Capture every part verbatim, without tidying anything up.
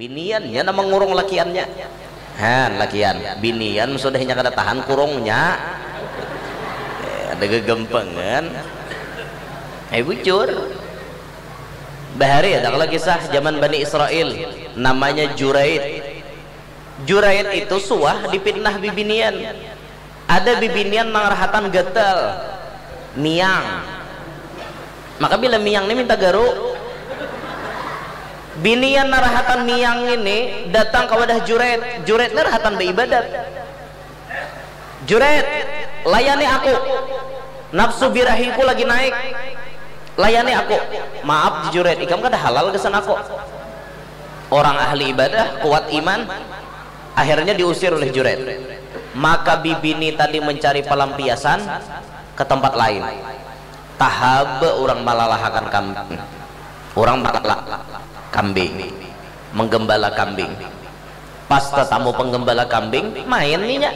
Biniannya nama ngurung lakiannya. Han, lakian, binian sudahnya kada tahan kurungnya. Eh, ada gegempengan. Eh, bujur. Bahari ada kalau kisah zaman Bani Israel, namanya Juraid. Juraid itu suah dipitnah bibinian. Ada bibinian nang rahatan gatal, miang. Maka bila miang ni minta garu, binian narahatan miang ini datang ke wadah Juret. Juret ni rahatan baibadat. Juret, layani aku. Nafsu birahiku lagi naik. Layani aku. Maaf, Juret, ikam kada halal gasan aku. Orang ahli ibadah, kuat iman, akhirnya diusir oleh Juret. Maka bibini tadi mencari pelampiasan ke tempat lain. Tahaba orang malalahakan kambing. Orang malala kambing, menggembala kambing. Pas tetamu penggembala kambing, main ninya.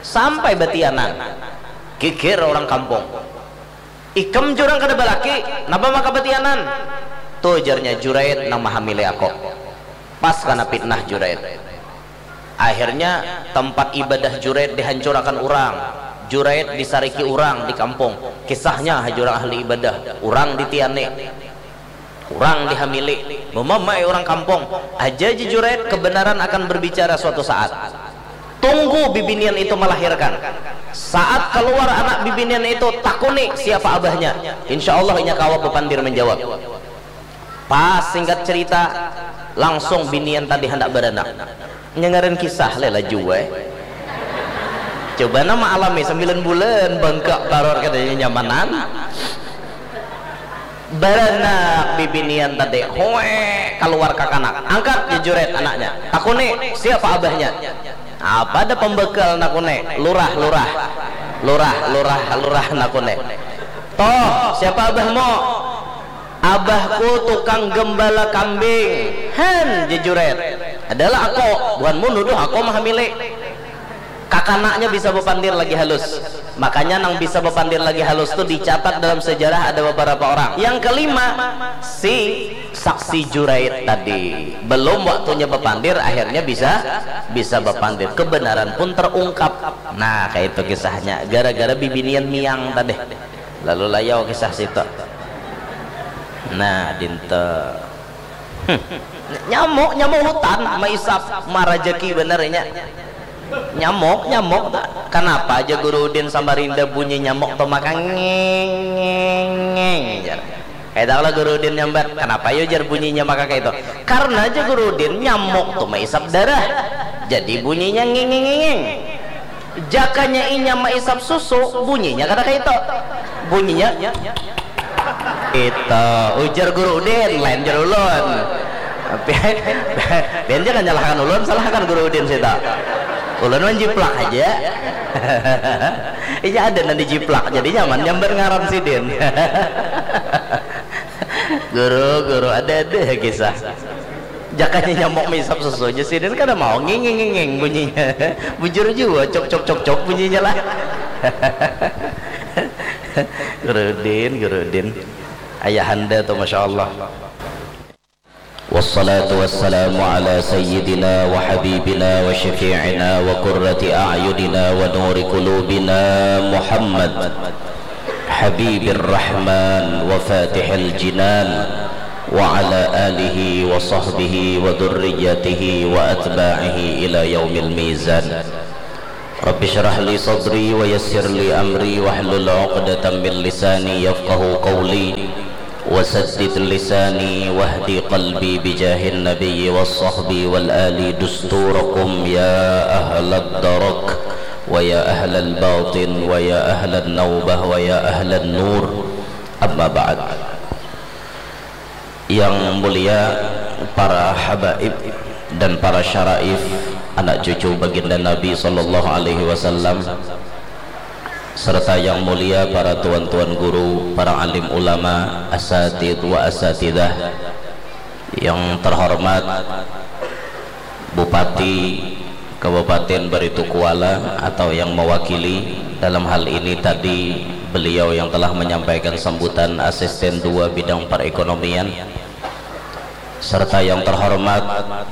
Sampai batianan. Geger orang kampung. Ikam jurang kada balaki, napa maka batianan? Tuh, jarnya Juraid nang mahamili aku. Pas kana pitnah Juraid. Akhirnya tempat ibadah Juraid dihancurakan orang. Juraid disariki orang di kampung. Kisahnya ha jurang ahli ibadah, orang ditiani, orang dihamili, memamai orang kampung. Aja ji Juraid, kebenaran akan berbicara suatu saat. Tunggu bibinian itu melahirkan. Saat keluar anak bibinian itu, takuni siapa abahnya. Insya Allah inya kawa bepandir menjawab. Pas singkat cerita, langsung binian tadi hendak beranak. Nyengaran kisah lela jua. Coba nama alami sembilan bulan bangka taror katanya nyamanan. Baranak bibinian tadi, hoe, keluar kakanak. Angkat jejuret anaknya. Takuni, siapa abahnya? Apa ada pembekal nakuni? Lurah, lurah. Lurah, lurah, lurah nakuni. Toh, siapa abahmu? Abahku tukang gembala kambing. Hen, jejuret. Adalah aku, buhanmu nuduh aku mahamili. Kakanaknya bisa bepandir lagi halus. Makanya nang bisa bepandir lagi halus tu dicatat dalam sejarah ada beberapa orang. Yang kelima, si saksi Juraid tadi. Belum waktunya bepandir, akhirnya bisa bisa bepandir. Kebenaran pun terungkap. Nah, kayak itu kisahnya. Gara-gara bibinian miang tadi. Lalu layau kisah situ. Nah, dinta. Hmm. Nyamuk, nyamuk hutan, maisap, marajaki bener inya. Nyamuk, nyamuk. Kenapa aja Guru Udin Samarinda bunyi nyamuk tuh maka ngeng, ngeng, ngeng, jar. Kayak tahu lah Guru Udin nyambat, kenapa yo jar bunyinya maka kayak itu? Karena aja Guru Udin nyamuk tuh maisap darah. Jadi bunyinya ngeng, ngeng, ngeng, ngeng. Jakanya inya maisap susu, bunyinya kada kayak itu. Bunyinya itu ujar Guru Udin, lain jar ulun. Pian, pian jangan nyalahkan ulun, salahkan Guru Udin sita. Ulun menjiplak aja. Iya ada nanti jiplak, jadi nyaman nyambar ngaran sidin. Guru, guru, ada ada kisah. Jakanya nyamuk misap susu aja sidin kada mau nging nging nging bunyinya. Bujur juga cok cok cok cok bunyinya lah. Guru Udin, Guru Udin. Ayahanda tuh Masya Allah. والصلاة والسلام على سيدنا وحبيبنا وشفيعنا وقرة أعيننا ونور قلوبنا محمد حبيب الرحمن وفاتح الجنان وعلى آله وصحبه وذريته وأتباعه إلى يوم الميزان. رب اشرح لي صدري ويسر لي أمري واحلل عقدة من لساني يفقه قولي وسدد لساني واهد قلبي بجاه النبي والصحب والآل دستوركم يا أهل الدرك ويا أهل الباطن ويا أهل النوبة ويا أهل النور. أما بعد. Yang mulia para habaib dan para syaraif, anak cucu baginda Nabi sallallahu alaihi wasallam, serta yang mulia para tuan-tuan guru, para alim ulama, asatid wa asatidah, yang terhormat Bupati Kabupaten Baritokuala atau yang mewakili, dalam hal ini tadi beliau yang telah menyampaikan sambutan, Asisten dua Bidang Perekonomian, serta yang terhormat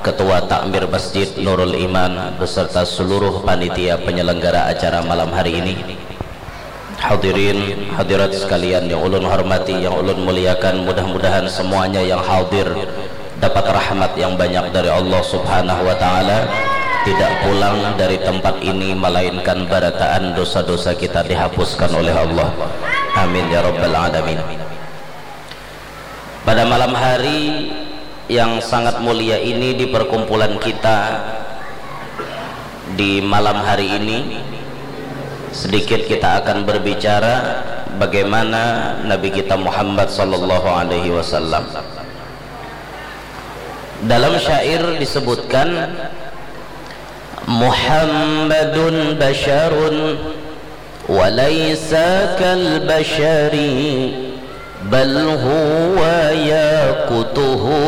Ketua Takmir Masjid Nurul Iman beserta seluruh panitia penyelenggara acara malam hari ini. Hadirin hadirat sekalian yang ulun hormati, yang ulun muliakan, mudah-mudahan semuanya yang hadir dapat rahmat yang banyak dari Allah Subhanahu wa Ta'ala, tidak pulang dari tempat ini melainkan barataan dosa-dosa kita dihapuskan oleh Allah. Amin ya Rabbal 'Alamin. Pada malam hari yang sangat mulia ini, di perkumpulan kita di malam hari ini, sedikit kita akan berbicara bagaimana Nabi kita Muhammad sallallahu alaihi wasallam. Dalam syair disebutkan, "Muhammadun basyarun wa laisa kal basyari, bal huwa yaqutuhu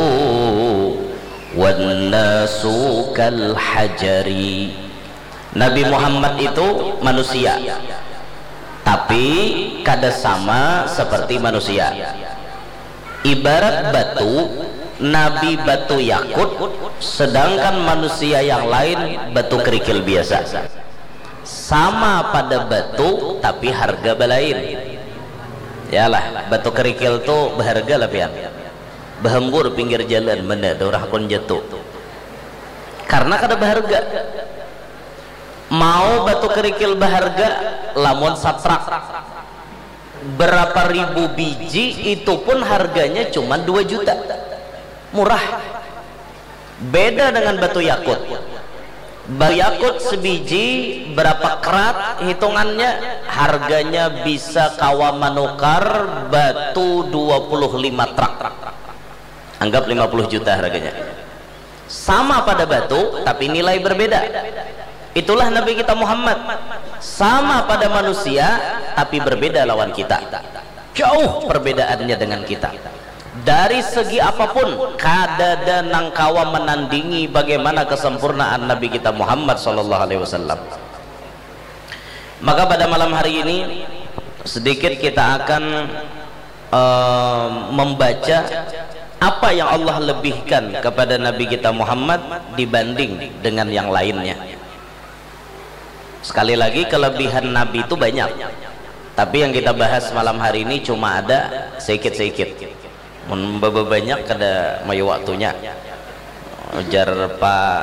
wan nasu kal hajari." Nabi Muhammad itu manusia, tapi kada sama seperti manusia. Ibarat batu, Nabi batu yakut, sedangkan manusia yang lain batu kerikil biasa. Sama pada batu, tapi harga balain. Yalah, batu kerikil tu berharga lah pian. Behembur pinggir jalan, mana ada orang hakun jatuh. Karena kada berharga. Mau batu kerikil berharga, lamun satrak berapa ribu biji, itu pun harganya cuma dua juta. Murah. Beda dengan batu yakut. Batu yakut sebiji berapa karat hitungannya, harganya bisa kawa manukar batu dua puluh lima truk. Anggap lima puluh juta harganya. Sama pada batu, tapi nilai berbeda. Itulah Nabi kita Muhammad. Sama pada manusia, tapi berbeda lawan kita. Jauh perbedaannya dengan kita. Dari segi apapun, kadada nang kawa menandingi bagaimana kesempurnaan Nabi kita Muhammad sallallahu alaihi wasallam. Maka pada malam hari ini, sedikit kita akan, eh, membaca apa yang Allah lebihkan kepada Nabi kita Muhammad dibanding dengan yang lainnya. Sekali lagi, kelebihan Nabi itu banyak, tapi yang kita bahas malam hari ini cuma ada sedikit-sedikit. Mun bababanyak kada mayu waktunya. Ujar Pak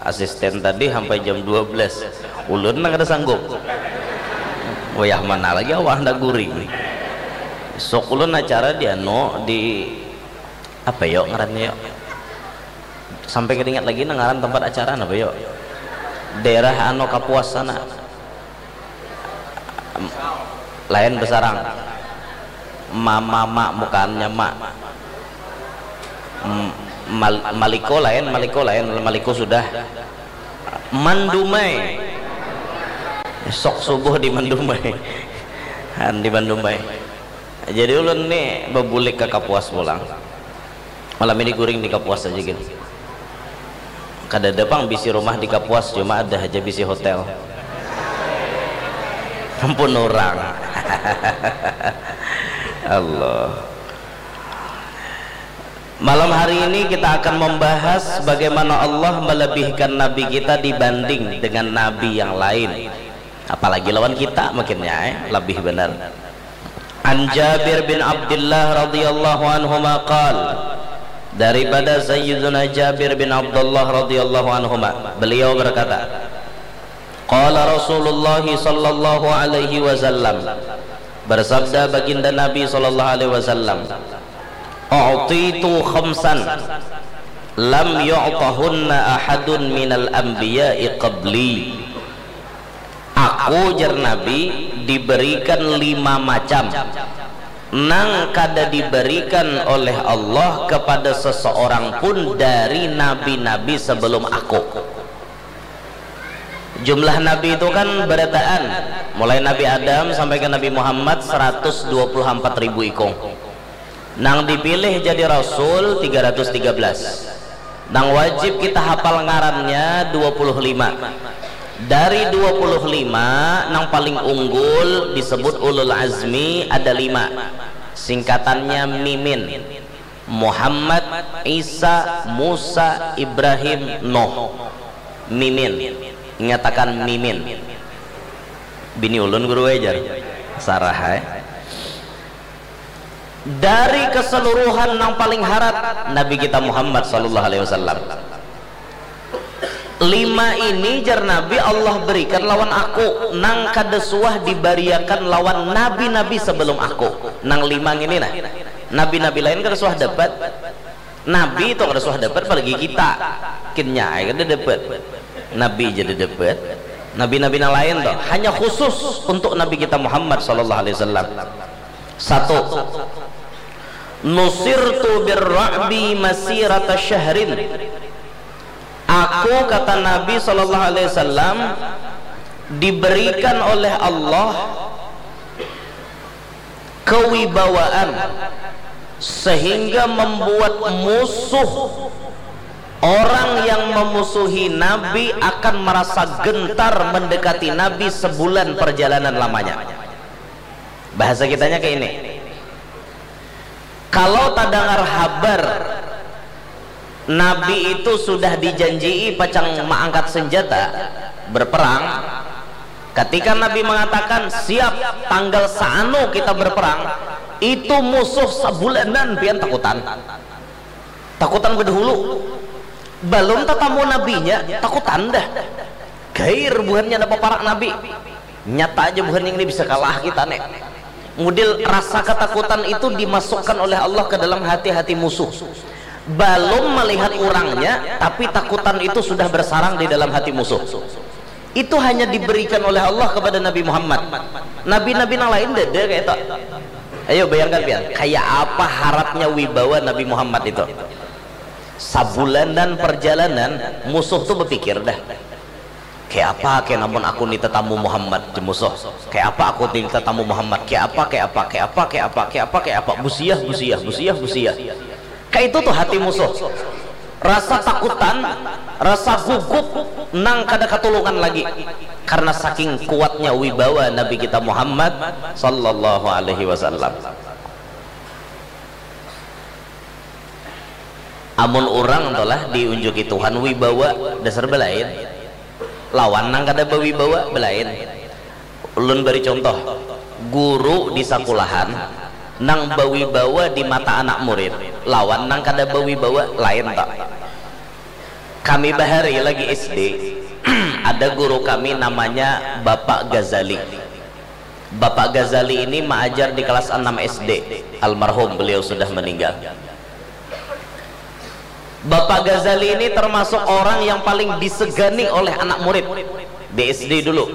Asisten tadi sampai jam dua belas. Ulun nang kada sanggup. Wayah mana lagi awak handak guring. Sok ulun acara di anu, di apa yo ngarannya yo. Sampai kada ingat lagi nang ngaran tempat acara apa yo. Daerah anu Kapuas sana. Lain besarang. Mama, mak, bukannya mak. M-, mal-, maliko lain, maliko lain, maliko sudah. Mandumai. Sok subuh di Mandumai. Han di Mandumai. Jadi ulun ni bebulik ke Kapuas pulang. Malam ini guring di Kapuas aja gin. Kadada pang bisi rumah di Kapuas, cuma ada aja bisi hotel. Ampun orang. Allah. Malam hari ini kita akan membahas bagaimana Allah melebihkan Nabi kita dibanding dengan Nabi yang lain. Apalagi lawan kita, makinnya, eh, lebih benar. An Jabir bin Abdullah radhiyallahu anhuma qal, daripada Sayyiduna Jabir bin Abdullah radhiyallahu anhuma, beliau berkata, qala Rasulullah sallallahu alaihi wasallam, bersabda baginda Nabi sallallahu alaihi wasallam, "U'titu khamsan lam yu'tahunna ahadun minal anbiya'i qabli." Aku, jar Nabi, diberikan lima macam nang kada diberikan oleh Allah kepada seseorang pun dari nabi-nabi sebelum aku. Jumlah nabi itu kan berataan, mulai Nabi Adam sampai ke Nabi Muhammad seratus dua puluh empat ribu ikung. Nang dipilih jadi rasul tiga ratus tiga belas. Nang wajib kita hafal ngarannya dua puluh lima. Dari dua puluh lima, nang paling unggul disebut ulul azmi ada lima. Singkatannya mimin. Muhammad, Isa, Musa, Ibrahim, Nuh. Mimin. Ingatakan Mimin. Bini ulun guru ai jar. Sarah ai. Dari keseluruhan nang paling harat Nabi kita Muhammad sallallahu alaihi wasallam. Lima ini jar Nabi Allah berikan lawan aku nang kada suah dibariakan lawan nabi-nabi sebelum aku. Nang lima ini nah. Nabi-nabi lain kada suah dapat. Nabi itu kada suah dapat apalagi kita. Kinya ai kada dapat. Nabi jadi dapat. Nabi-nabi nang lain tuh hanya khusus untuk Nabi kita Muhammad sallallahu alaihi wasallam. Satu. Nusirtu birra'bi masirata syahrin. Aku, kata Nabi sallallahu alaihi wasallam, diberikan oleh Allah kewibawaan sehingga membuat musuh orang yang memusuhi Nabi akan merasa gentar mendekati Nabi sebulan perjalanan lamanya. Bahasa kitanya kayak ini. Kalau tadangar habar Nabi itu sudah dijanjii pacang maangkat senjata berperang, ketika Nabi mengatakan siap tanggal saanu kita berperang, itu musuh sabulanan pian takutan. Takutan bedahulu. Balum tatamu nabinya, takutan dah. Gair buhannya napa parak nabi. Nyata aja buhan yang ini bisa kalah kita nih. Mudil rasa ketakutan itu dimasukkan oleh Allah ke dalam hati-hati musuh. Balum melihat orangnya, tapi takutan itu sudah bersarang di dalam hati musuh. Itu hanya diberikan oleh Allah kepada Nabi Muhammad. Nabi-nabi yang lain dada kayak itu. Ayo bayangkan pian, kayak apa haratnya wibawa Nabi Muhammad itu. Sabulanan perjalanan, musuh tuh berpikir dah. Kayak apa kayak namun aku ni tetamu Muhammad di musuh. Kayak apa aku ni tetamu Muhammad. Kayak apa, kayak apa, kayak apa, kayak apa, kayak apa, kayak apa. Busiah, busiah, busiah, busiah. Kayak itu tuh hati musuh. Rasa takutan, rasa gugup, nang kada katulungan lagi. Karena saking kuatnya wibawa Nabi kita Muhammad sallallahu alaihi wasallam. Amun urang tuh lah diunjuki Tuhan wibawa dasar belain. Lawan nang kada bawibawa belain. Ulun bari contoh, guru di sakulahan nang bawibawa di mata anak murid lawan nang kada bawibawa lain tak. Kami bahari lagi S D, ada guru kami namanya Bapak Ghazali. Bapak Ghazali ini maajar di kelas enam S D, almarhum beliau sudah meninggal. Bapak Ghazali ini termasuk orang yang paling disegani oleh anak murid di S D dulu.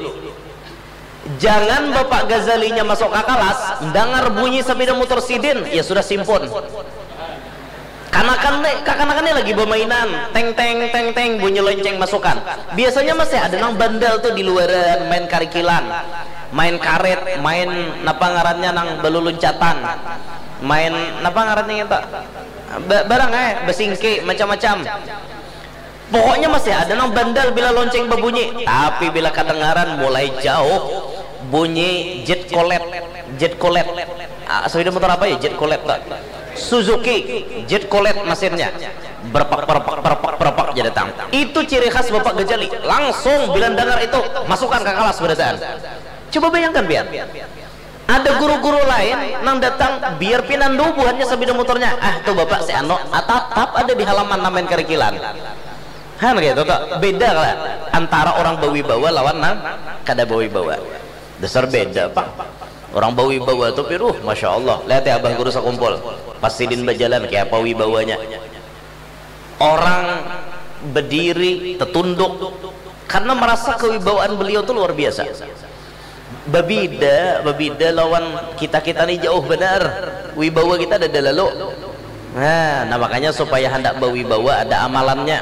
Jangan Bapak Ghazalinya masuk ke kelas, dengar bunyi sepeda motor sidin, ya sudah simpun. Kanakan nih, kakanakan nih lagi bermainan, teng teng teng teng bunyi lonceng masukan. Biasanya masih ada nang bandel tuh di luaran main karikilan, main karet, main napa ngarannya nang beluluncatan, main napa ngarannya itu, barang eh besingki macam-macam. Pokoknya masih ada nang bandel bila lonceng berbunyi, tapi bila kedengaran mulai jauh bunyi jet kolet, jet kolet. Ah, sepeda motor apa ya jet kolet tak? Suzuki jet kolet mesinnya. Berpak berpak berpak berpak aja datang. Itu ciri khas Bapak Gajali. Langsung bila dengar itu masukkan ke kelas berataan. Coba bayangkan biar. Ada guru-guru lain nang datang biar pinandu buhannya sabida motornya. Ah tuh bapak si Ano, ah, tatap ada di halaman namen karikilan. Han gitu tuh. Beda lah antara orang bawibawa lawan nang kada bawibawa. Dasar beda pak. Orang bawibawa tuh piruh, masya Allah. Lihat ya abah guru sakumpul. Pas sidin bajalan kayak apa wibawanya. Orang bediri tetunduk karena merasa kewibawaan beliau tuh luar biasa. Babida, babida lawan kita kita nih jauh benar. Wibawa kita ada lalu. Nah, nah makanya supaya hendak bawibawa ada amalannya.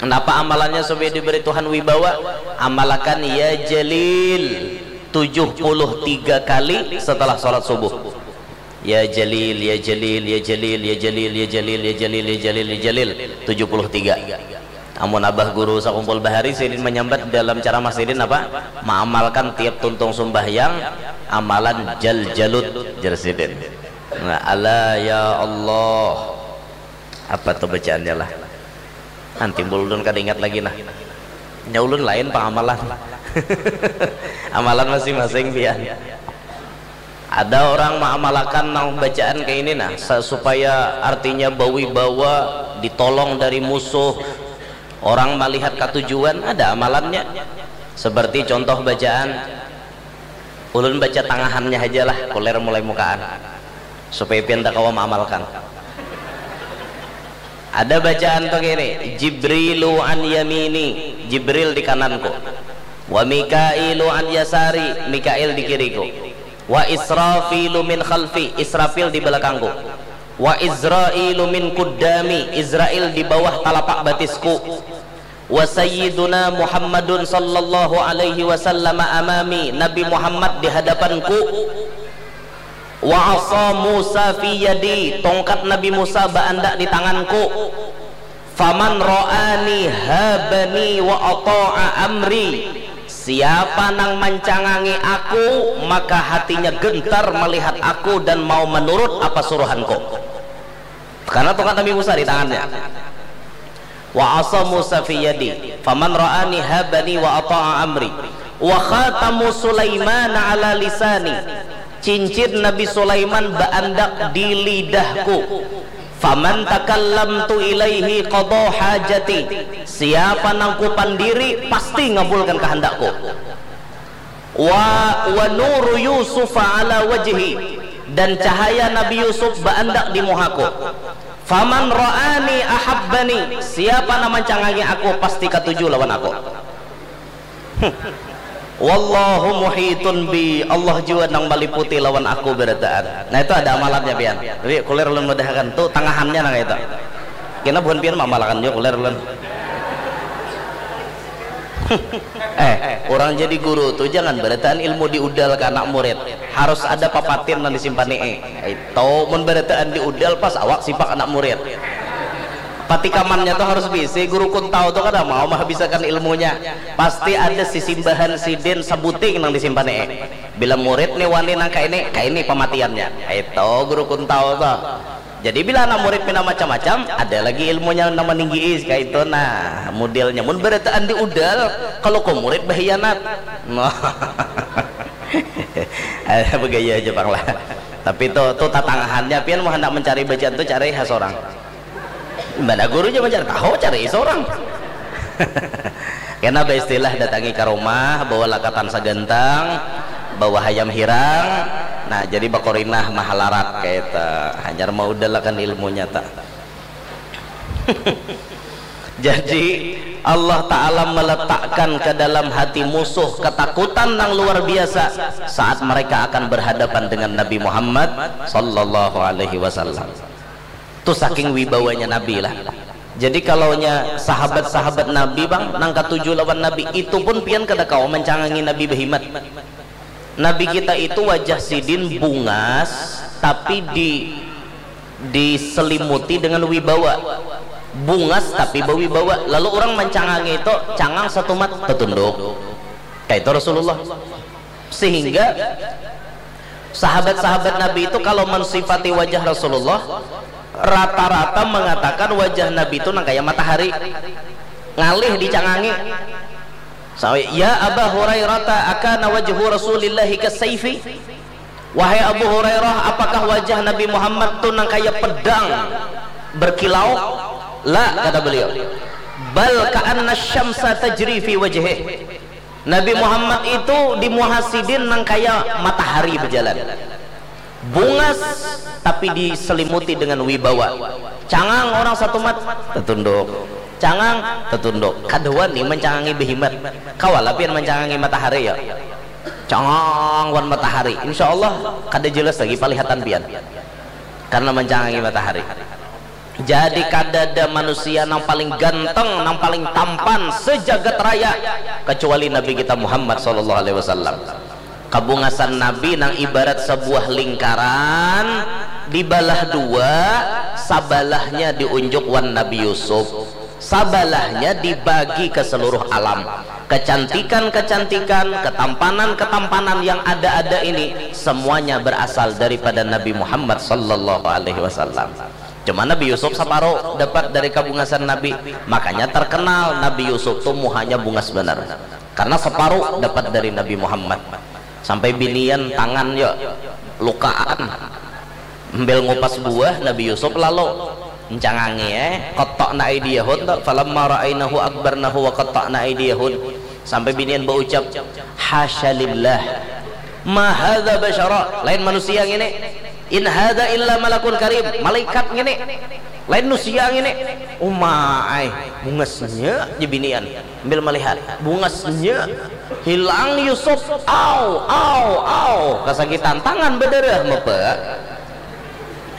Kenapa amalannya supaya diberi Tuhan wibawa? Amalakan ya Jalil tujuh puluh tiga kali setelah sholat subuh. Ya Jalil, ya Jalil, ya Jalil, ya Jalil, ya Jalil, ya Jalil, ya Jalil, ya Jalil, tujuh puluh tiga. Amun abah guru sakumpul bahari sidin menyambat dalam ceramah sidin apa? Mengamalkan tiap tuntung sumbahyang amalan jal jalut jar sidin. Nah, ala ya Allah. Apa tuh bacaannya lah? Nanti ulun kada ingat lagi nah. Nya ulun lain pangamalan. Amalan masing-masing pian. Ada orang mengamalkan nang bacaan kayak ini nah, sa- supaya artinya bawibawa, ditolong dari musuh, orang melihat katujuan, ada amalannya. Seperti contoh bacaan, ulun baca tangahannya aja lah, kuler mulai mukaan, supaya pian tak kawa mengamalkan. Ada bacaan tuh gini, Jibrilu an yamini, Jibril di kananku, wa Mikailu an yasari, Mikail di kiriku, wa Israfilu min khalfi, Israfil di belakangku, wa Izrailu min kuddami, Izrail di bawah talapak batisku, wa sayyiduna Muhammadun sallallahu alaihi wasallam amami, Nabi Muhammad di hadapanku, wa asa Musa fi yadi, tongkat Nabi Musa baandak di tanganku, faman ra'ani habani wa ata'a amri, siapa nang mancangangi aku maka hatinya gentar melihat aku dan mau menurut apa suruhanku. Karena tongkat Nabi Musa di tangannya. Wa asa Musa fi yadi, faman ra'ani habani wa ata'a amri. Wa khatamu Sulaiman ala lisani, cincin Nabi Sulaiman baandak di lidahku. Faman takallamtu ilaihi qada hajati, siapa nang kupandiri pasti ngabulkan kehendakku. Wa wa nuru Yusuf ala wajhi, dan cahaya Nabi Yusuf baandak di muhaku. Faman ra'ani ahabbani, siapa nang mancangangi aku pasti katuju lawan aku. Wallahu muhitun bi, Allah jua nang maliputi lawan aku barataan. Nah, itu ada amalannya pian. Jadi kulir ulun mudahakan tu tangahannya nang itu. Kena buhan pian mamalakan jua kulir ulun. Eh, orang jadi guru tu jangan barataan ilmu diudal ke anak murid. Harus ada papatin nang disimpani. Eh, itu mun barataan diudal pas awak sipak anak murid. Patikamannya tu harus bisi, guru kuntau tu kada mau mahabisakan ilmunya. Pasti ada sisimbahan sidin sabuting nang disimpani. Bila murid ni wani nang kaini, kaini pamatiannya. Itu guru kuntau tu. Jadi bila anak murid pina macam-macam, ada lagi ilmunya nang maninggi kaitu. Nah, modelnya mun barataan diudal, kalau ko murid bahianat. Nah. Ada bagaya aja pang lah. Tapi tu tu tatangahannya pian mau hendak mencari bacaan tu cari ha sorang. Mana gurunya mencari tahu cari sorang. Kena beristilah datangi ke rumah bawa lakatan sagantang, bawa hayam hirang. Nah, jadi bakorinah mahalarat kayak itu. Hanyar mau udahlah kan ilmunya tak. Jadi Allah Ta'ala meletakkan ke dalam hati musuh ketakutan yang luar biasa saat mereka akan berhadapan dengan Nabi Muhammad sallallahu alaihi wasallam. Tu saking wibawanya Nabi lah. Jadi kalaunya sahabat-sahabat Nabi bang, nang katuju lawan Nabi, itu pun pian kada kawa mancangangi Nabi behimat. Nabi kita itu wajah sidin bungas, tapi di diselimuti dengan wibawa. Bungas tapi berwibawa. Lalu orang mancangangi itu cangang satumat tertunduk. Kayak itu Rasulullah. Sehingga sahabat-sahabat Nabi itu kalau mensifati wajah Rasulullah rata-rata mengatakan wajah Nabi itu nang kayak matahari ngalih dicangangi. Sampai, ya Aba Hurairah, akana wajhu Rasulillahi kasaifi? Wahai Abu Hurairah, apakah wajah Nabi Muhammad tu nang kaya pedang berkilau? La, kata beliau. Bal ka'anna syamsa tajri fi wajhih. Nabi Muhammad itu di muha sidin nang kaya matahari berjalan. Bungas tapi diselimuti dengan wibawa. Cangang orang satumat tertunduk. Cangang tertunduk. Kada wani mancangangi behimat. Kawa lah pian mancangangi matahari ya. Cangang wan matahari. Insya Allah kada jelas lagi palihatan pian. Karena mancangangi matahari. Jadi kadada manusia nang paling ganteng, nang paling tampan sejagat raya kecuali Nabi kita Muhammad sallallahu alaihi wasallam. Kabungasan Nabi nang ibarat sebuah lingkaran dibalah dua, sabalahnya diunjuk wan Nabi Yusuf, sabalahnya dibagi ke seluruh alam. Kecantikan-kecantikan, ketampanan-ketampanan yang ada-ada ini semuanya berasal daripada Nabi Muhammad sallallahu alaihi wasallam. Cuma Nabi Yusuf separuh dapat dari kabungasan Nabi, makanya terkenal Nabi Yusuf tuh muhanya bungas benar. Karena separuh dapat dari Nabi Muhammad. Sampai binian tangan yo lukaan. Ambil ngupas buah Nabi Yusuf lalu encangangi eh qatta'na aidiyahun tu, falamma ra'ainahu akbarnahu wa qatta'na aidiyahun. Sampai binian berucap, hasya lillah, ma hadza basyara, lain manusia ngini, in hadza illa malakun karim, malaikat ngini, lain nusia ngini. Umaai, bungasnya je binian ambil melihat, bungasnya hilang Yusuf, au au au, kasakitan, tangan berdarah mepe.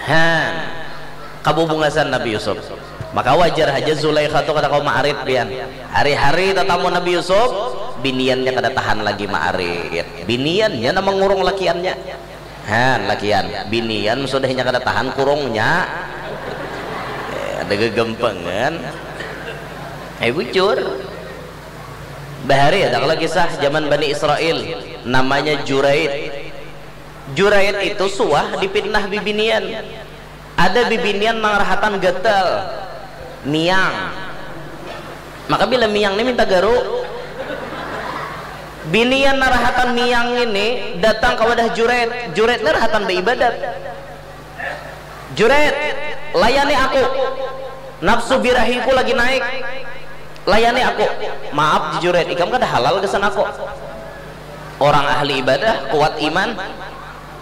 Han, kabubungasan Nabi Yusuf. Maka wajar haja Zulaikha tu kada kawa maarit pian. Hari-hari tatamu Nabi Yusuf, biniannya kada tahan lagi maarit. Biniannya nama ngurung lakiannya. Han, lakian, binian sudah inya kada tahan kurungnya. Eh, ada gegempengan. Eh, bujur. Bahari ada kalau kisah zaman Bani Israel, namanya Juraid. Juraid itu suah dipitnah bibinian. Ada bibinian nang rahatan gatal, miang. Maka bila miang ni minta garu, binian nang rahatan miang ini datang ke wadah Juraid. Juraid ni rahatan beibadat. Juraid, layani aku. Nafsu birahiku lagi naik. Layani aku. Maaf, Juraid, ikam kada halal gasan aku. Orang ahli ibadah, kuat iman,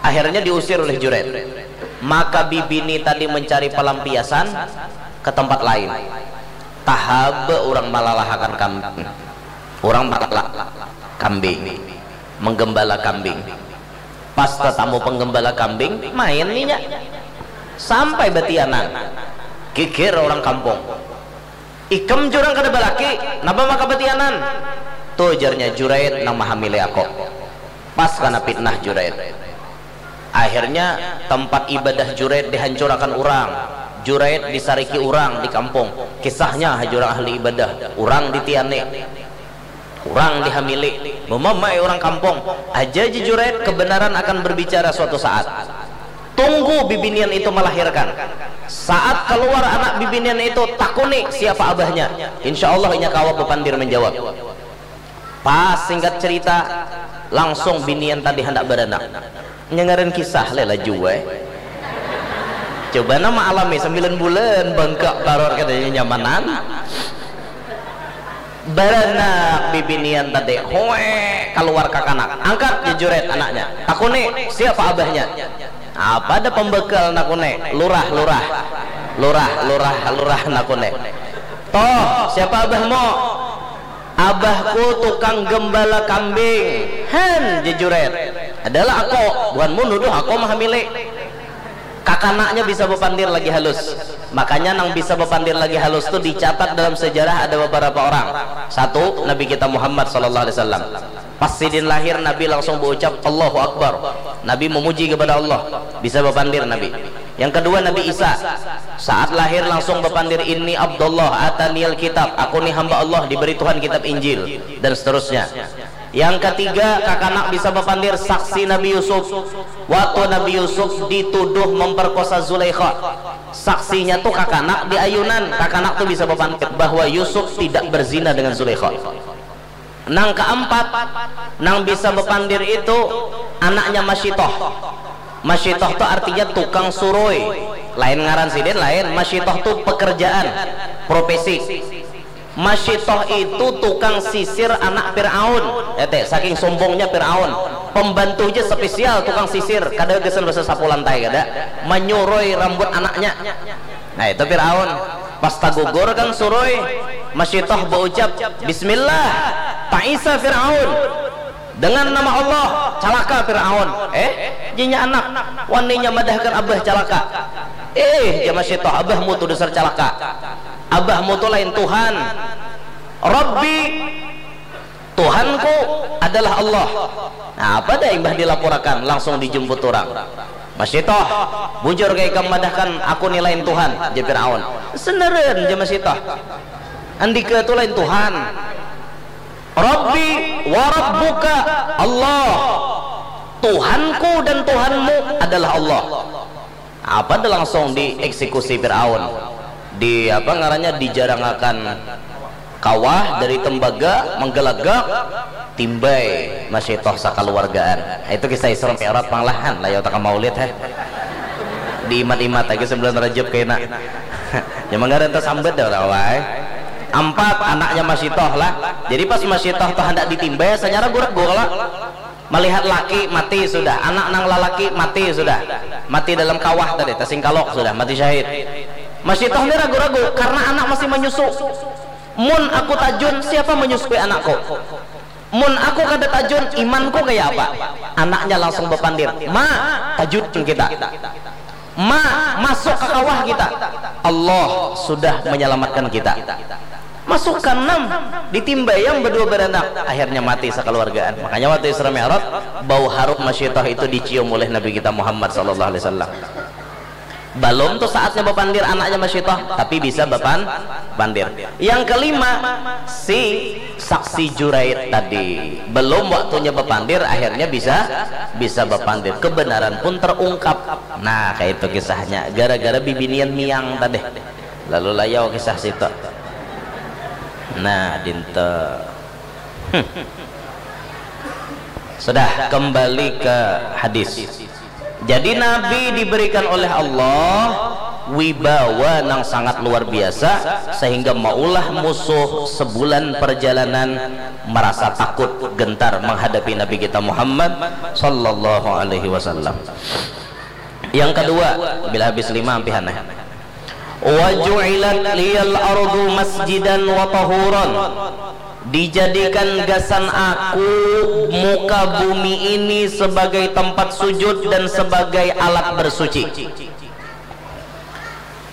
akhirnya diusir oleh Juraid. Maka bibini tadi mencari pelampiasan ke tempat lain. Tahaba orang malalahakan kambing. Orang malala kambing, menggembala kambing. Pas tatamu penggembala kambing, main ninya. Sampai batianan. Kikir orang kampung. Ikam jurang kada balaki, napa maka batianan? Tu jarnya Juraid nang mahamili aku. Pas kana pitnah Juraid. Akhirnya tempat ibadah Juraid dihancurakan urang. Juraid disariki urang di kampung. Kisahnya haja urang ahli ibadah, urang ditiani. Urang dihamili, memamai urang kampung. Aja ja Juraid, kebenaran akan berbicara suatu saat. Tunggu bibinian itu melahirkan. Saat keluar anak bibinian itu, takuni siapa abahnya. Insya Allah inya kawa bepandir menjawab. Pas singkat cerita, langsung binian tadi handak beranak. Nya ngaran kisah leh lah jua. Coba nama alami sembilan bulan bangkak taror katanya nyamanan. Baranak bibinian tadi, hoe, keluar kakanak, angkat jejuret anaknya, takuni siapa abahnya. Apa ada pembekal nakuni, lurah, lurah, lurah, lurah, lurah nakuni. Toh, siapa abahmu? Abahku tukang gembala kambing. Hen, jejuret. Adalah aku, buhanmu nuduh aku mahamili. Kakanaknya bisa bepandir lagi halus. Makanya nang bisa bepandir lagi halus tu dicatat dalam sejarah ada beberapa orang. Satu, Nabi kita Muhammad sallallahu alaihi wasallam. Pas sidin lahir, Nabi langsung berucap, "Allahu Akbar." Nabi memuji kepada Allah. Bisa bepandir Nabi. Yang kedua, Nabi Isa. Saat lahir langsung bepandir, "Inni Abdullah, ataniyal kitab." Aku ni hamba Allah, diberi Tuhan kitab Injil, dan seterusnya. Yang ketiga, kakanak bisa bepandir saksi Nabi Yusuf. Waktu Nabi Yusuf dituduh memperkosa Zulaikha. Saksinya tu kakanak di ayunan. Kakanak tu bisa bepandir bahwa Yusuf tidak berzina dengan Zulaikha. Nang keempat, nang bisa bepandir itu anaknya Masyitoh. Masyitoh tu artinya tukang suroi. Lain ngaran sidin, lain. Masyitoh tu pekerjaan, profesi. Masyitoh itu tukang sisir anak Fir'aun. Ete, saking sombongnya Fir'aun. Pembantu aja spesial tukang sisir. Kada gasan basa sapu lantai, kada. Menyuroi rambut anaknya. Nah, itu Fir'aun. Pas tagugur kan suroi, Masyitoh baucap, "Bismillah." Ta'isa Fir'aun. Dengan nama Allah, calaka Fir'aun. Eh, jinya anak, waninya madahkan abah calaka. Eh, jama Masyitoh, abahmu tu dasar calaka. Abahmu tu lain Tuhan. Rabbi, Tuhanku adalah Allah. Nah, apa dah imbah dilaporakan, langsung dijemput orang. "Masyitoh, bujur kah ikam madahkan aku ni lain Tuhan?" jar Fir'aun. "Seneren," jar Masyitoh. "Andika tu lain Tuhan." Rabbi wa rabbuka Allah, Tuhanku dan Tuhanmu adalah Allah. Apa dah langsung dieksekusi Fir'aun. Di apa ngarannya, dijarangakan kawah dari tembaga, menggelagak, timbai Masitoh sakaluargaan. Itu kisah Isra Mi'raj panglahan lah ya, utaka maulid heh. Diimat-imat lagi sembilan Rajab kena. Ya manggaran tasambat dah lah wai. Ampat anaknya Masitoh lah. Jadi pas Masitoh tuh hendak ditimbai, sanyara gurek gula. Melihat laki mati sudah, anak nang lalaki mati sudah, mati dalam kawah tadi, tasingkalok sudah, mati syahid. Masitoh ni ragu-ragu karena anak masih menyusu. Mun aku tajun, siapa menyusui anakku? Mun aku kada tajun, imanku kaya apa? Anaknya langsung bapandir, ma, tajun kita. Ma, masuk ke kawah kita. Allah sudah menyelamatkan kita. Masukkan nam, ditimbayam berdua beranak, akhirnya mati sekeluargaan. Makanya waktu Isra Mi'raj, bau harum masyitah itu dicium oleh Nabi kita Muhammad sallallahu alaihi wasallam. Belum tuh saatnya bapandir anaknya masyitah, tapi bisa bapan pandir. Yang kelima, si saksi Juraid tadi. Belum waktunya bapandir, akhirnya bisa bisa bapandir. Kebenaran pun terungkap. Nah, kayak itu kisahnya. Gara-gara bibinian miang tadi. Lalu layau kisah situ. Nah, dinta. Hmm. Sudah, kembali ke hadis. Jadi Nabi diberikan oleh Allah wibawa nang sangat luar biasa sehingga maulah musuh sebulan perjalanan merasa takut gentar menghadapi Nabi kita Muhammad sallallahu alaihi wasallam. Yang kedua, bila habis lima ampihannya. Wa ju'ilat liyal ardu masjidan wa tahuran. Dijadikan gasan aku muka bumi ini sebagai tempat sujud dan sebagai alat bersuci.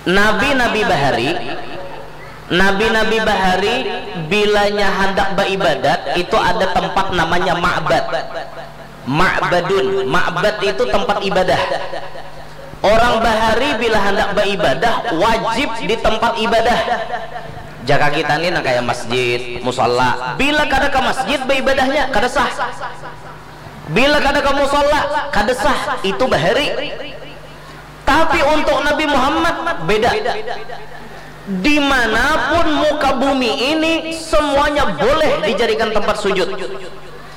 Nabi-nabi bahari, nabi-nabi bahari bilanya hendak beribadat itu ada tempat namanya ma'bad. Ma'badun, ma'bad itu tempat ibadah. Orang bahari bila hendak beribadah wajib di tempat ibadah. Jaka kita ni nang kaya masjid, musala, bila kada ke masjid beribadahnya kada sah. Bila kada ke musala kada sah, itu bahari. Tapi untuk Nabi Muhammad beda. Dimanapun muka bumi ini semuanya boleh dijadikan tempat sujud.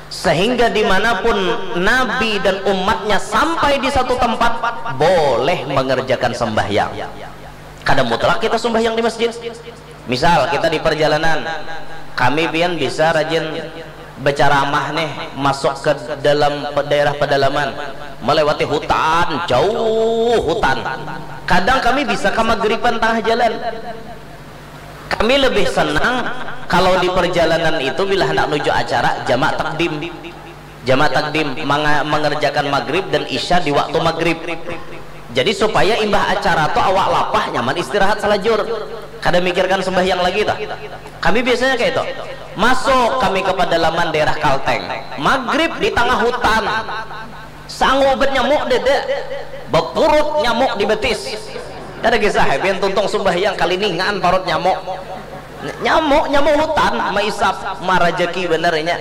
Sehingga dimanapun Nabi dan umatnya sampai di satu tempat boleh mengerjakan sembahyang. Kada mutlak kita sembahyang di masjid. Misal kita di perjalanan, kami pian bisa rajin berceramah nih, masuk ke dalam pe- daerah pedalaman, melewati hutan, jauh hutan. Kadang kami bisa ke magriban tengah jalan. Kami lebih senang kalau di perjalanan itu bila hendak nuju acara jamak takdim. Jamak takdim manga- mengerjakan maghrib dan isya di waktu maghrib. Jadi supaya imbah acara tu awak lapah nyaman istirahat salajur. Kada mikirkan sembahyang lagi tuh. Kami biasanya kayak itu. Masuk kami ke pedalaman daerah Kalteng. Maghrib di tengah hutan. Sangu ubat nyamuk dede. Bepurut nyamuk di betis. Kada kisah, pian tuntung sembahyang kaliningan parut nyamuk. Nyamuk, nyamuk hutan, maisap, marajaki bener inya.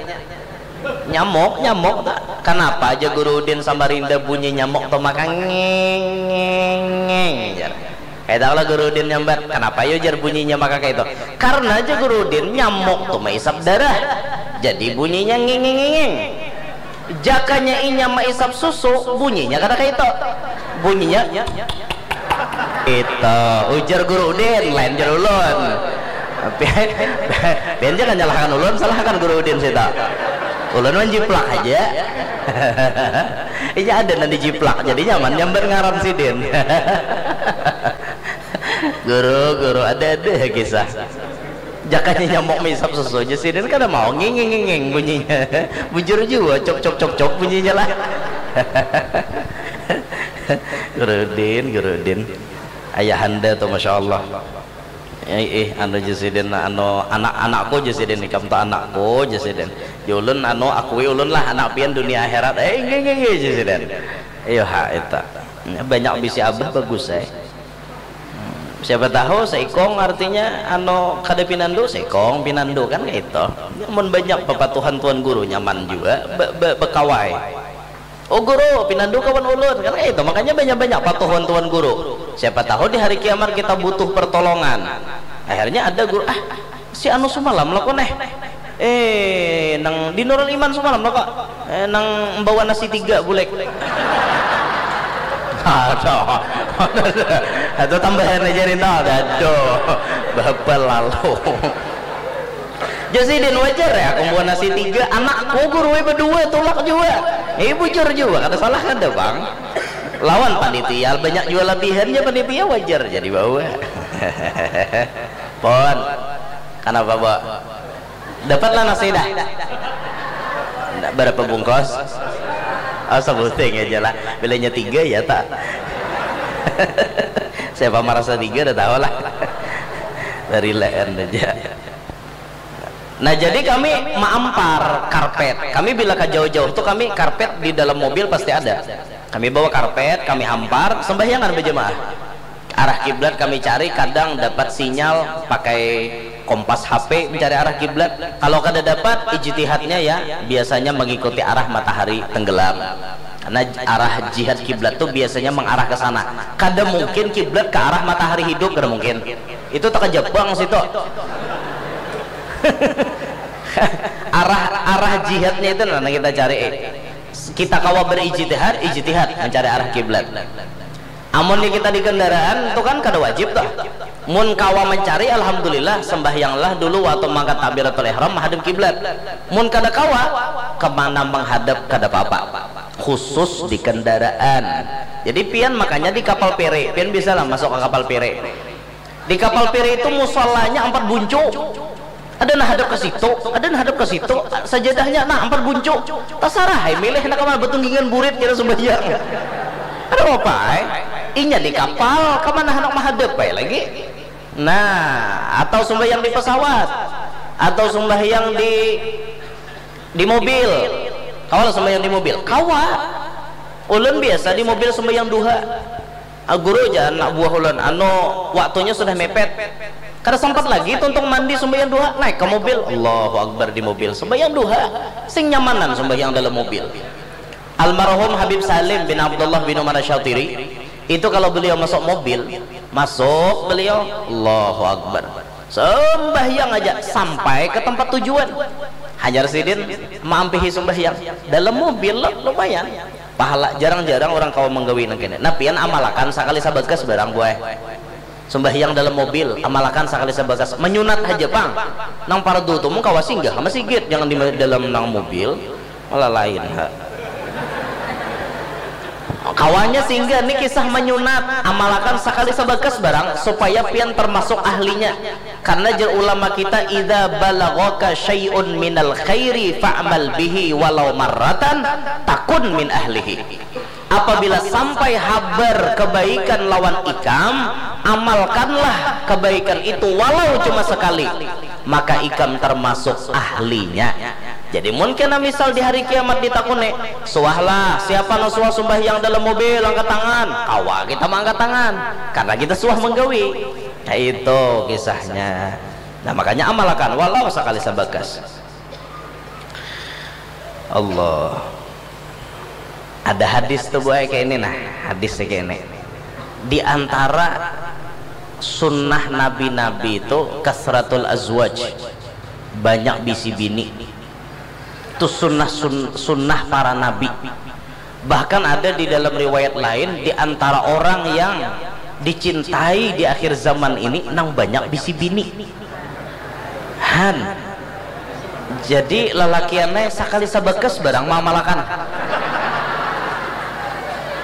Nyamuk, nyamuk. Kenapa aja Guru Udin Samarinda bunyi nyamuk tuh maka ngeng, ngeng, ngeng, jar. Kayak tahu lah Guru Udin nyambat, kenapa yo jar bunyinya maka kayak itu? Karena aja Guru Udin nyamuk tuh maisap darah. Jadi bunyinya ngeng, ngeng, ngeng, ngeng. Jakanya inya maisap susu, bunyinya kada kayak itu. Bunyinya itu ujar Guru Udin, lain jar ulun. Pian, pian jangan nyalahkan ulun, salahkan Guru Udin sita. Ulun menjiplak aja. Inya ada nanti jiplak, jadi nyaman nyambat ngaran sidin. Guru, guru, ada ada kisah. Jakanya nyamuk misap susu aja sidin kada mau nginging nginging bunyinya. Bujur jua cok cok cok cok bunyinya lah. Guru Udin, Guru Udin. Ayahanda tuh masya Allah. Eh, eh, anu jasidin, anu anak-anakku jasidin, ikam tuh anakku jasidin. Julun anu akui ulun lah anak pian dunia akhirat. Eh, nggih nggih nggih jasidin. Iyo ha eta. Banyak bisi abah bagus eh. Hmm, Siapa tahu seikong artinya anu kada pinandu, seikong pinandu kan kaitu. Mun banyak papatuhan tuan guru nyaman jua be, be, bekawai. Oh guru, pinandu kawan ulun kan kaitu. Makanya banyak-banyak patuhan tuan guru. Siapa tahu di hari kiamat kita butuh pertolongan. Akhirnya ada guru, ah si anu sumalam lakon eh. Eh nang di Nurul Iman sumalam lah kok. Eh, nang membawa nasi tiga bulek. Aduh. Atau tambahan aja nih tau. Aduh. Bapak lalu. Jasidin wajar ya aku membawa nasi tiga, anakku guru berdua tulak juga. Eh bujur juga, kada salah kada bang. Lawan panitia banyak juga labihannya, panitia wajar jadi bawa. Pon. Kenapa, Bo? Dapatlah nasi dah. Ndak berapa bungkus? Oh, sebuting aja lah. Bilanya tiga ya tak. Siapa merasa tiga udah tahu lah. Dari lain aja. Nah, jadi kami maampar karpet. Kami bila ke jauh-jauh tuh kami karpet di dalam mobil pasti ada. Kami bawa karpet, kami hampar, sembahyangan berjemaah. Arah kiblat kami cari, kadang dapat sinyal pakai kompas H P mencari arah kiblat. Kalau kada dapat, ijtihadnya ya biasanya mengikuti arah matahari tenggelam. Karena arah jihad kiblat tuh biasanya mengarah ke sana. Kada mungkin kiblat ke arah matahari hidup, kada mungkin. Itu tak ke Jepang situ. Arah arah jihadnya itu nah kita cari. Kita kawa berijtihad, ijtihad mencari arah kiblat. Amun di kita di kendaraan tu kan kada wajib tuh. Mun kawa mencari, alhamdulillah, sembahyanglah dulu waktu mangkat takbiratul ihram menghadap kiblat. Mun kada kawa, kemana menghadap kada apa-apa. Khusus di kendaraan. Jadi pian makanya di kapal pere, pian bisa lah masuk ke kapal pere. Di kapal pere itu musolanya empat buncu. Ada nah hadap ke situ, ada nah hadap ke situ, sajadahnya nah empat buncu. Tasarah ai milih nak kemana, betunggingan burit kira sembahyang. Ada apa ai? Inya di kapal, kemana hendak mahadap ai lagi? Nah, atau sembahyang di pesawat, atau sembahyang di di mobil. Kawa lah sembahyang di mobil? Kawa. Ulun biasa di mobil sembahyang duha. Ah, guru ja anak buah ulun, anu waktunya sudah mepet. Kada sempat lagi tuntung mandi sembahyang duha, naik ke mobil, Allahu Akbar di mobil sembahyang duha. Sing nyamanan sembahyang dalam mobil. Almarhum Habib Salim bin Abdullah bin Umar Syatiri itu kalau beliau masuk mobil, masuk beliau, Allahu Akbar. Sembahyang aja sampai ke tempat tujuan. Hanyar sidin maampihi sembahyang dalam mobil lo, lumayan. Pahala jarang-jarang orang kawa menggawi nang kene. Nah, pian amalakan sakali sabagas barang buai. Sembahyang dalam mobil, amalakan sakali sabagas. Menyunat aja pang. Nang pardu tu mun kawa singgah ke masigit, jangan di dalam nang mobil. Malah lain ha. Kawanya singgah ni kisah menyunat, amalakan sakali sabagas barang supaya pian termasuk ahlinya. Karena jer ulama kita, idza balaghaka syai'un minal khairi fa'mal bihi walau marratan takun min ahlihi. Apabila sampai habar kebaikan lawan ikam, amalkanlah kebaikan itu walau cuma sekali, maka ikam termasuk ahlinya. Jadi mun kena misal di hari kiamat ditakuni, suahlah siapa nang suah sumbahyang dalam mobil angkat tangan, kawa kita mangkat tangan karena kita suah menggawi. Nah, itu kisahnya. Nah, makanya amalakan walau sekali sabagas. Allah. Ada hadis tu buai kayak ini nah, hadis kayak ini. Di antara sunnah nabi-nabi itu kasratul azwaj, banyak bisi bini. Itu sunnah sun, sunnah para nabi. Bahkan ada di dalam riwayat lain, di antara orang yang dicintai di akhir zaman ini nang banyak bisi bini. Han. Jadi lalakiannya sakali sabakas barang mamalakan.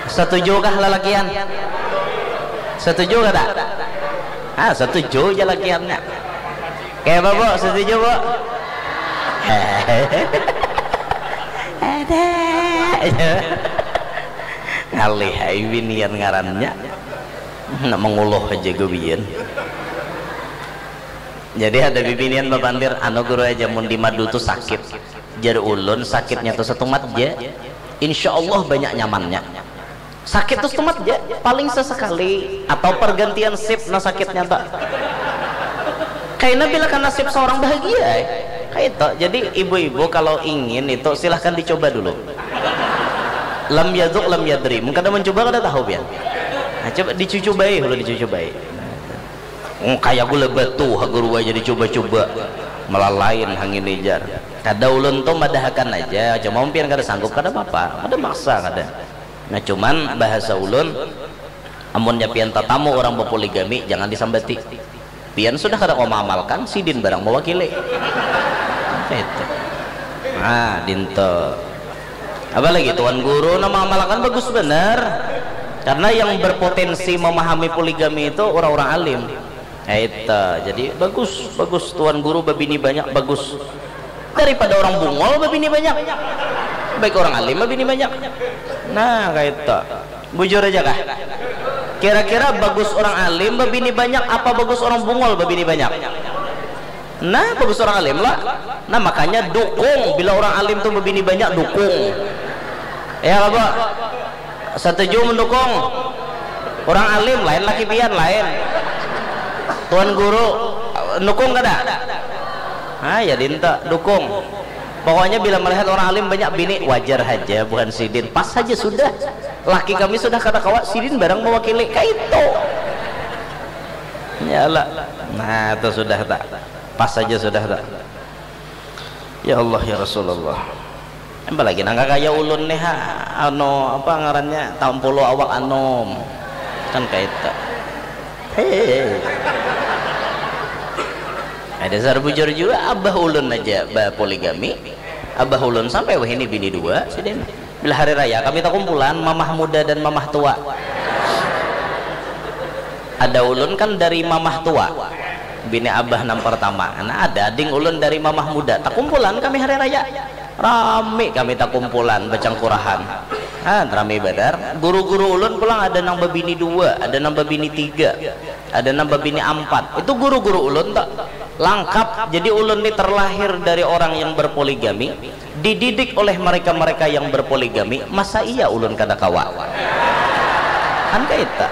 Setujukah lalakian? Setuju kada? Ah, setuju aja lakiannya. Kayak apa, Bu? Setuju, Bu? Ada. Ngalih ai binian ngarannya. Nak menguluh aja gawian. Jadi ada bibinian bapandir, anu guru aja mun di madu tu sakit. Jar ulun sakitnya tu satumat ja. Insya Allah banyak nyamannya. Sakit tu setumat ja, paling sesekali atau pergantian sip na sakitnya ta. Kaina bila kana sip seorang bahagia ai. Kaitu. Jadi ibu-ibu kalau ingin itu silahkan dicoba dulu. Lam yaduk lam yadri. Mun kada mencoba kada tahu pian. Nah, coba dicucubai, ulun dicucubai. Hmm, kaya gula batu ha guru aja dicoba-coba. Malah lain hangini jar. Kada ulun tu madahakan aja, cuma mun pian kada sanggup kada apa-apa, kada maksa kada. Nah, cuman bahasa ulun, amunnya pian tatamu orang bapoligami, jangan disambati. Pian sudah kada kawa maamalkan, sidin barang mawakili. Itu. Nah, dinto. Apalagi tuan guru nah maamalkan bagus banar. Karena yang berpotensi memahami poligami itu orang-orang alim. Itu. Jadi bagus, bagus tuan guru babini banyak, bagus. Daripada orang bungol babini banyak. Baik orang alim babini banyak. Nah, kaitu. Bujur aja kah? Kira-kira bagus orang alim babini banyak apa bagus orang bungol babini banyak? Nah, bagus orang alim lah. Nah, makanya dukung bila orang alim tu babini banyak, dukung. Ya, apa? Setuju mendukung? Orang alim lain, laki pian lain. Tuan guru dukung kada? Ah, ya dinta dukung. Pokoknya bila melihat orang alim banyak bini, wajar haja, buhan sidin. Pas haja sudah. Laki kami sudah kada kawa, sidin barang mewakili. Kaitu. Ya lah. Nah, itu sudah tak. Pas saja sudah tak. Ya Allah, ya Rasulullah. Apalagi nang kaya ulun nih ha, anu apa ngarannya, tampulu awak anum. Kan kaitu. Hei. Ada sar bujur juga, abah ulun aja bapoligami. Abah ulun sampai wahini bini dua, sidin. Bila hari raya kami takumpulan, mamah muda dan mamah tua. Ada ulun kan dari mamah tua, bini abah nang pertama. Nah, ada ading ulun dari mamah muda. Takumpulan kami hari raya. Rami kami takumpulan, bacangkurahan. Ah, rami banar. Guru-guru ulun pulang ada nang babini dua, ada nang babini tiga, ada nang babini ampat. Itu guru-guru ulun tak lengkap. Jadi ulun ni terlahir dari orang yang berpoligami, dididik oleh mereka-mereka yang berpoligami, masa iya ulun kada kawa? Kan kaita.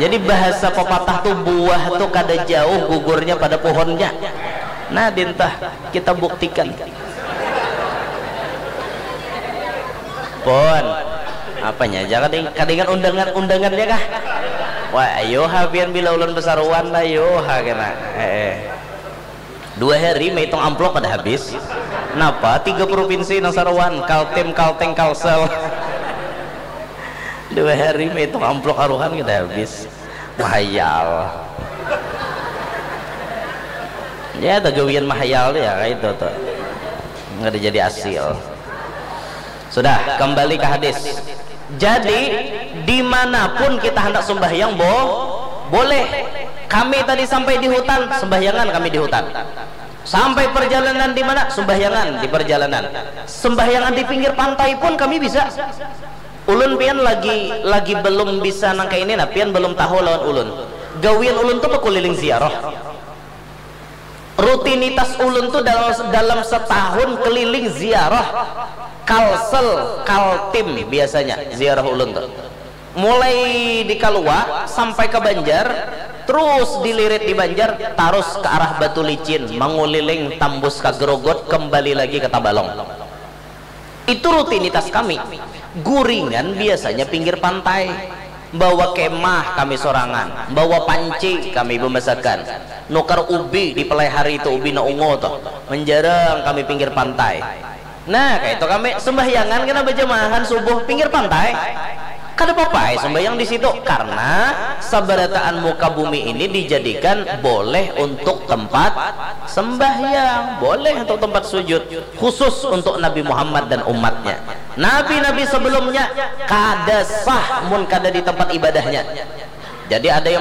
Jadi bahasa pepatah tu, buah tu kada jauh gugurnya pada pohonnya. Nah, dintah kita buktikan. Pon, apanya aja kading kadingan undangan undangannya kah? Wah, ayo ha pian bila ulun besaruan lah, ayo ha kena. Eh, eh. Dua hari maitung amplop kada habis. Napa tiga provinsi nang saruan, Kaltim, Kalteng, Kalsel. Dua hari maitung amplop aruhan kada habis. Mahayal. Ya, tagawian mahayal tu ya, kayak itu tuh. Nggak ada jadi hasil. Sudah, kembali ke hadis. Jadi, dimanapun kita hendak sembahyang, bo, boleh. Kami tadi sampai di hutan, sembahyangan kami di hutan. Sampai perjalanan di mana? Sembahyangan di perjalanan. Sembahyangan di pinggir pantai pun kami bisa. Ulun pian lagi lagi belum bisa nang kayak ini, nah pian belum tahu lawan ulun. Gawian ulun tuh keliling ziarah. Rutinitas ulun tuh dalam dalam setahun keliling ziarah Kalsel, Kaltim biasanya ziarah ulun tuh. Mulai di Kalua sampai ke Banjar, terus dilirit di Banjar, terus ke arah Batu Licin, menguliling tambus ke Gerogot, kembali lagi ke Tabalong. Itu rutinitas kami. Guringan biasanya pinggir pantai. Bawa kemah kami sorangan, bawa panci kami bemasakan. Nukar ubi di pelai hari itu, ubi na ungu tuh. Menjarang kami pinggir pantai. Nah, kayak itu kami sembahyangan kena berjamahan subuh pinggir pantai. Kada apa-apa ai sembahyang di situ karena sabarataan muka bumi ini dijadikan boleh untuk tempat sembahyang, boleh untuk tempat sujud, khusus untuk Nabi Muhammad dan umatnya. Nabi-nabi sebelumnya kada sah mun kada di tempat ibadahnya. Jadi ada yang